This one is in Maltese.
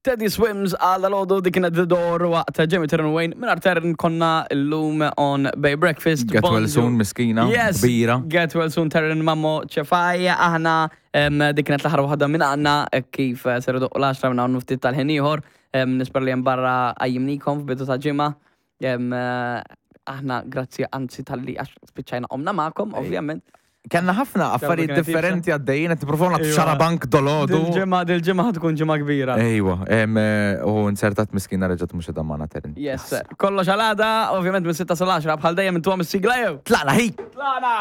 Teddy Swims għal dalodu dik kienet The Door waqt Jamie Terren Wayne minn Terren konna llum on Bay Breakfast. Get well Bonġu. soon, miskina, Yes, kbira. Get well soon Terren Mammo ċefaj. Aħna dik kienet l-aħħar waħda minn għandna kif ser idoqqu l-10 minn hawn ftit tal-ħin ieħor. Nispera li hemm barra qajjimnikom f'bidu ta' ġimgħa. Aħna grazzi anzi talli għax spiċċajna qomna magħkom, ovvjament. Kellna ħafna affarijiet differenti għaddejjin qed nippruvaw nagħtu xarabank dolodu. Dil-ġimgħa dil-ġimgħa ħa tkun ġimgħa kbira. Ejwa, u nzertat miskina reġgħet mhux qiegħda magħna Terren. Yes. Kollox għal għada, ovvjament minn 6 sal-10 bħal dejjem intuhom is-sigla jew. Tlaqna ħi! Tlaqna!